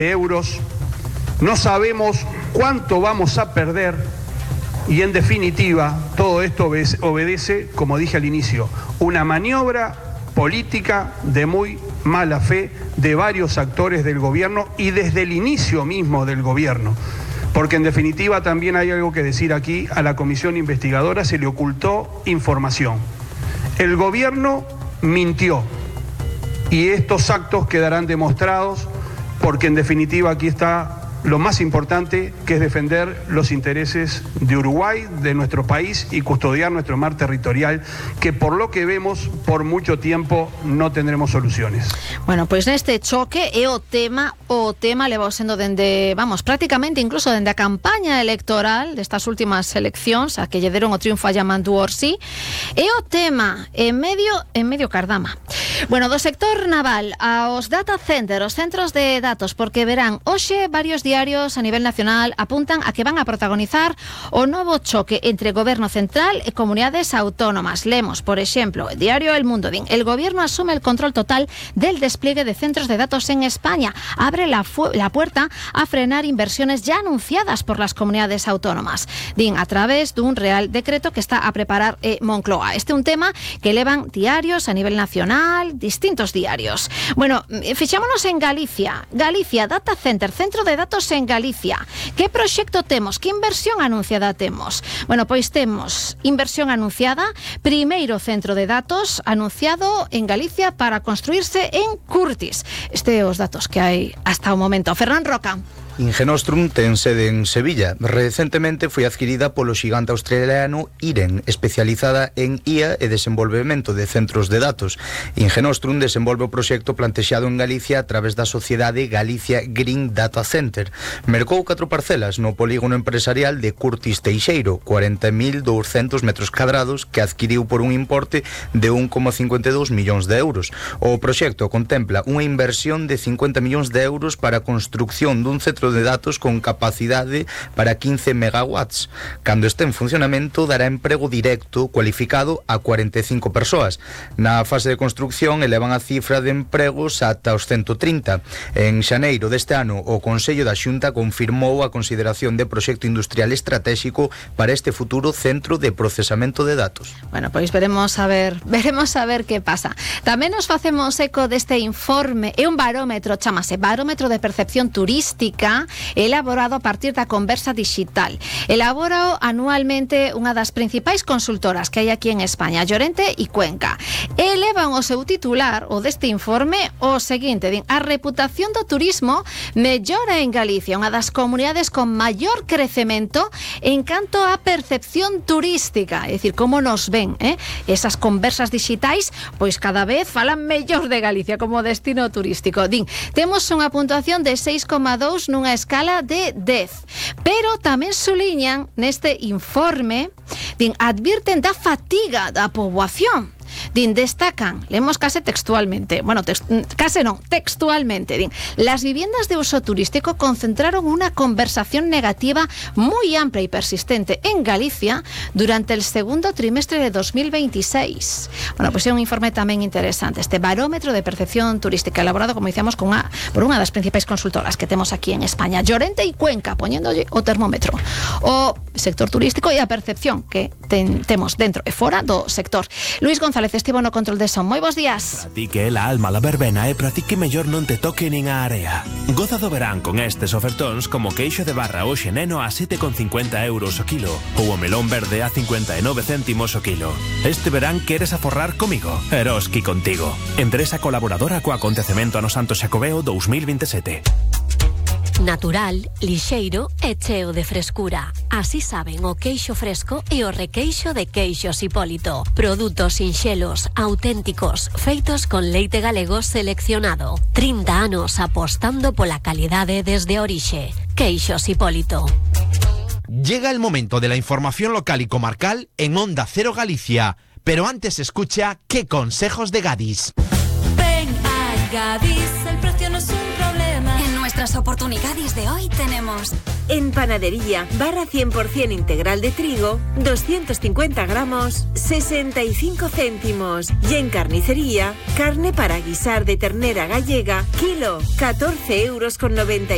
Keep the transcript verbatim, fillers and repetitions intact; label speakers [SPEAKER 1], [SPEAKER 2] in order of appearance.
[SPEAKER 1] euros, no sabemos cuánto vamos a perder y en definitiva todo esto obedece, como dije al inicio, una maniobra política de muy mala fe de varios actores del gobierno y desde el inicio mismo del gobierno. Porque en definitiva también hay algo que decir aquí, a la comisión investigadora se le ocultó información. El gobierno mintió y estos actos quedarán demostrados porque en definitiva aquí está lo más importante, que es defender los intereses de Uruguay, de nuestro país y custodiar nuestro mar territorial, que por lo que vemos, por mucho tiempo no tendremos soluciones.
[SPEAKER 2] Bueno, pois neste choque é o tema, o tema levou sendo dende, vamos, prácticamente incluso dende a campaña electoral destas últimas eleccións, a que lle deron o triunfo a Yamandu Orsi, é o tema en medio, en medio cardama. Bueno, do sector naval aos data centers, os centros de datos, porque verán, hoxe varios diarios a nivel nacional apuntan a que van a protagonizar o novo choque entre Goberno Central e comunidades autónomas. Lemos, por exemplo, el diario El Mundo, din, el gobierno asume el control total del despliegue de centros de datos en España. Abre la, la puerta a frenar inversiones ya anunciadas por las comunidades autónomas. Din, a través dun real decreto que está a preparar eh, Moncloa. Este é un tema que elevan diarios a nivel nacional, distintos diarios. Bueno, fixámonos en Galicia. Galicia, Data Center, centro de datos en Galicia. Que proxecto temos? Que inversión anunciada temos? Bueno, pois temos inversión anunciada, primeiro centro de datos anunciado en Galicia para construirse en Curtis. Este é os datos que hai hasta o momento. Ferran Roca.
[SPEAKER 3] Ingenostrum ten sede en Sevilla. Recentemente foi adquirida polo xigante australiano Iren, especializada en I A e desenvolvemento de centros de datos. Ingenostrum desenvolve o proxecto plantexado en Galicia a través da sociedade Galicia Green Data Center. Mercou catro parcelas no polígono empresarial de Curtis Teixeiro, cuarenta mil douscentos metros cadrados, que adquiriu por un importe de un coma cincuenta e dous millóns de euros. O proxecto contempla unha inversión de cincuenta millóns de euros para a construcción dun centro de datos con capacidade para quince megawatts. Cando este en funcionamento dará emprego directo cualificado a cuarenta e cinco persoas. Na fase de construcción elevan a cifra de empregos ata os ciento trinta. En xaneiro deste ano o Consello da Xunta confirmou a consideración de proxecto industrial estratégico para este futuro centro de procesamento de datos.
[SPEAKER 2] Bueno, pois veremos a ver, veremos a ver que pasa. Tamén nos facemos eco deste informe, é un barómetro, chamase Barómetro de Percepción Turística, elaborado a partir da conversa digital. Elabora anualmente unha das principais consultoras que hai aquí en España, Llorente e Cuenca. Elevan o seu titular, o deste informe, o seguinte, din, a reputación do turismo mellora en Galicia, unha das comunidades con maior crecemento en canto á percepción turística, é dicir, como nos ven, eh? Esas conversas digitais, pois cada vez falan mellor de Galicia como destino turístico. Din, temos unha puntuación de seis coma dous nunha escala de dez. Pero tamén suliñan neste informe, din, advirten da fatiga da poboación. Din, destacan, leemos case textualmente, bueno, text, case non, textualmente, din, las viviendas de uso turístico concentraron una conversación negativa muy amplia y persistente en Galicia durante el segundo trimestre de dos mil veintiséis. Bueno, pues é un informe tamén interesante, este barómetro de percepción turística elaborado, como dicíamos, con una, por unha das principais consultoras que temos aquí en España, Llorente e Cuenca, poñéndolle o termómetro, o sector turístico e a percepción que ten, temos dentro e fora do sector. Luis González estivo no control de son. Moi bons días.
[SPEAKER 4] Para ti que é la alma la verbena e para ti que mellor non te toque nin a area. Goza do verán con estes ofertóns como queixo de barra o xeneno a sete con cincuenta euros o kilo ou o melón verde a cincuenta e nove céntimos o kilo. Este verán queres aforrar comigo? Eroski contigo. Empresa colaboradora co acontecemento ano Santo Xacobeo dos mil veintisiete.
[SPEAKER 5] Natural, lixeiro e cheo de frescura. Así saben o queixo fresco e o requeixo de Queixos Hipólito. Produtos sinxelos, auténticos, feitos con leite galego seleccionado. trinta anos apostando pola calidade desde a orixe. Queixos Hipólito.
[SPEAKER 6] Llega el momento de la información local y comarcal en Onda Cero Galicia. Pero antes escucha ¿Qué consejos de Gadis?
[SPEAKER 7] Ven a Gadis, el precio no es un problema.
[SPEAKER 8] En nuestras oportunidades de hoy tenemos...
[SPEAKER 9] En panadería, barra cien por ciento integral de trigo, doscientos cincuenta gramos, sesenta y cinco céntimos. Y en carnicería, carne para guisar de ternera gallega, kilo, catorce euros con noventa.